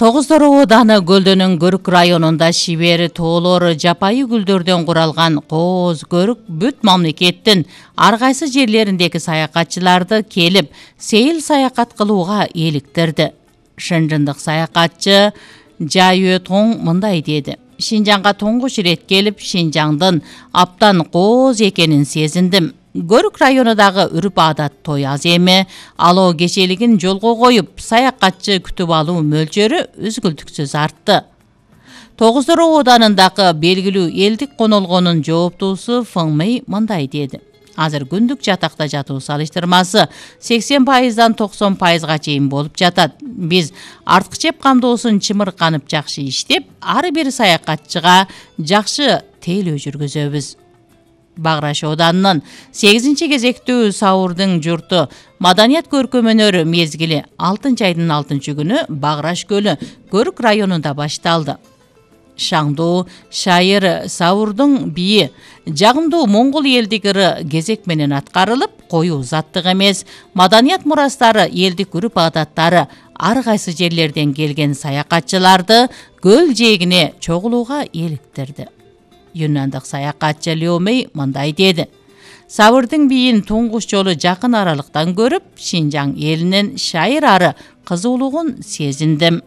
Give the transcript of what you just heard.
Тогуздор ооданы Көлдөнүн Көрүк районунда шибер тоолор жапайы гүлдөрдөн куралган кооз көрүк бүт мамлекеттин ар кайсы жерлериндеги саякатчыларды келип сейил саякат кылууга eeliktirdi. Шынжындык саякатчы Жайө Тоң мындай деди: Шинжаңга тоңгуч ирет келип, Шинжаңдын аптан кооз экенин сезиндим. Көрүк районундагы үрүп адат той аз эми, алоо кечелигин жолго коюп, саякатчы күтүп алуу мөлчөрү үзгүлтүксүз артты. Тогуздор ооданындагы белгилүү элдик конолгонун жооптуусу Фыңмей мындай деди: Азыр күндүк жатакта жатуу салыштырмасы 80%дан 90%га чейин болуп жатат. Биз артык жеп камдоосун чымырканып жакшы иштеп, ар бир саякатчыга жакшы тейлөө жүргүзөбүз. Баграш ооданынын 8-кезектүү Саурдун журту маданият көркөмөнөр мезгили 6-айдын 6-күнү Баграш көлү Көрүк районунда башталды. Шаңдуу шайыр Саурдун бийи жагымдуу моңгол элдик ыры кезек менен аткарылып, коюу заттык эмес маданият мурастары, элдик үрүп адаттары ар кайсы жерлерден келген саякатчыларды көл жээгине чогулууга eeliktirdi. Юнандык саякатчы Леомей мындай деди: Саурдун бийин туңгуч жолу жакын аралыктан көрүп, Шинжаң элинин шайыр ары кызуулугун сезиндим.